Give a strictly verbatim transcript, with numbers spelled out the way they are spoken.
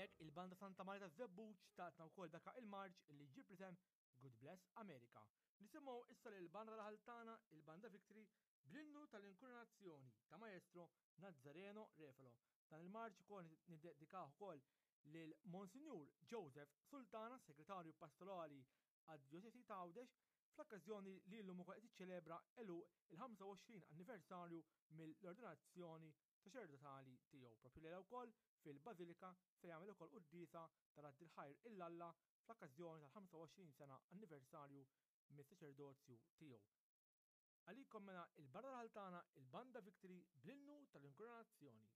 Hemmhekk il-Banda Santa Marija taż-Żebbuġ tatna wkoll dak il-marċ li ġib l-isem God Bless America. Nisimgħu issa lil banda Ħaltana, il-Banda Victory, bl-innu tal-inkurunazzjoni ta' Maestro Nazzareno Refalo. Dan il-marċ ukoll niddedikah ukoll lil Monsinjur Joseph Sultana, segretarju pastorali għad-Djoċesi ta' Għawdex, fl-okkażjoni li llum ukoll qed iċċelebra għeluq il-ħamsa u għoxrin anniversarju mill-ordinazzjoni saċerdotali tiegħu. Propju lejla wkoll fil-Bażilika se jagħmel ukoll quddiesa ta' radd il-ħajr lil Alla fl-okkażjoni tal-ħamsa u għoxrin sena anniversarju mis-saċerdozju tiegħu. Għalikom mela il-Banda Ħaltana, il-Banda Victory, bl-innu tal-inkurunazzjoni.